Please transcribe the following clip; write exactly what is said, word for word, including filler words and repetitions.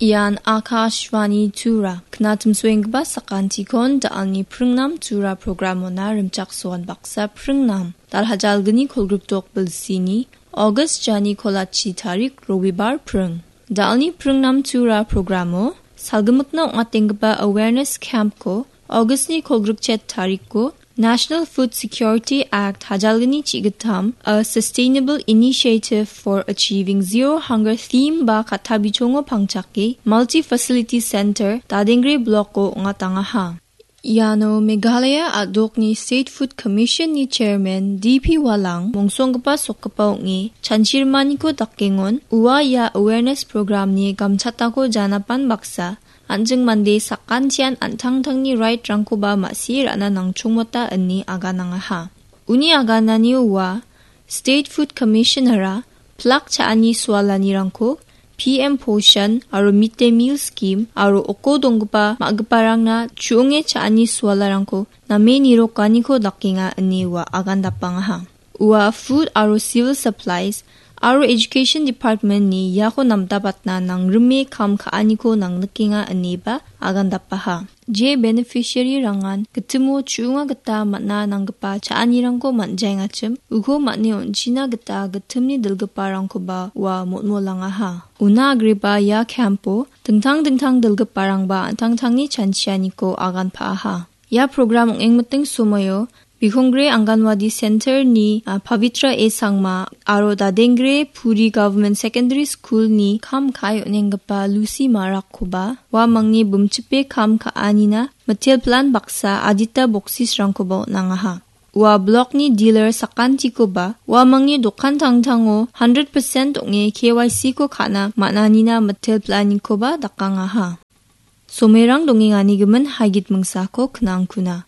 Ian Akashvani Tura, knatimsoenggipa sakantikon da·alni pringnam Tura programona rimchaksoan baksa pringnam. Dalhajalgni kolgrikdok bilsini, August jani kolachi tarik Robibar pring. Da·alni pringnam Tura programo, salgimikna ong·atenggipa awareness campko, Augustni kolgrikchet tarikko, National Food Security Act hajalgni chigitam, A Sustainable Initiative for Achieving Zero Hunger theme ba katabichongo pangchake, Multi Facility Center, Dadengre Blocko ong·atangaha. Iano Meghalaya a·dokni State Food Commissionni Chairman D P Walang mongsonggipa sokgipa ong·e chanchirimaniko dakengon ua ia awareness programni gamchatako janapan baksa an·ching mande sakantian an·tangtangni right-rangkoba ma·sie ra·na nangchongmota ine aganangaha. Uni agananio ua State Food Commissioner-a plak cha·ani sualanirangko P M Poshan aro Mid Day Meal Scheme aro oko donggipa ma·giparangna chu·onge cha·ani sualarangko name nirokaniko dakenga ine ua agandapangaha. Ua Food aro Civil Supplies aro Education Department-ni iako namdabatna nangrime kam ka·aniko nangnikenga ineba agandapaha. Je beneficiary-rangan gitimo chu·onga gita man·a nanggipa cha·anirangko man·jaengachim, uko man·e on·china gita gitimni dilgiparangkoba ua motmolangaha. Una agreba ia camp-o dingtang dingtang dilgiparangba an·tangtangni chanchianiko agan pa·aha. Ia program ong·engmiting somoio Bikongre Anganwadi Center-ni, a, Pavitra A Sangma aro Dadengre Puri Government Secondary School-ni kam ka·e on·enggipa Lucy Marakkoba uamangni bimchipe kam ka·anina mitel plan baksa adita boksisrangkoba on·angaha. Ua blokni dealer sakantikoba uamangni dokan tangtango hundred percent ong·e K Y C-ko ka·na man·anina mitel planikoba dakangaha. Somerang dongengani gimin haigit mingsako knangkuna.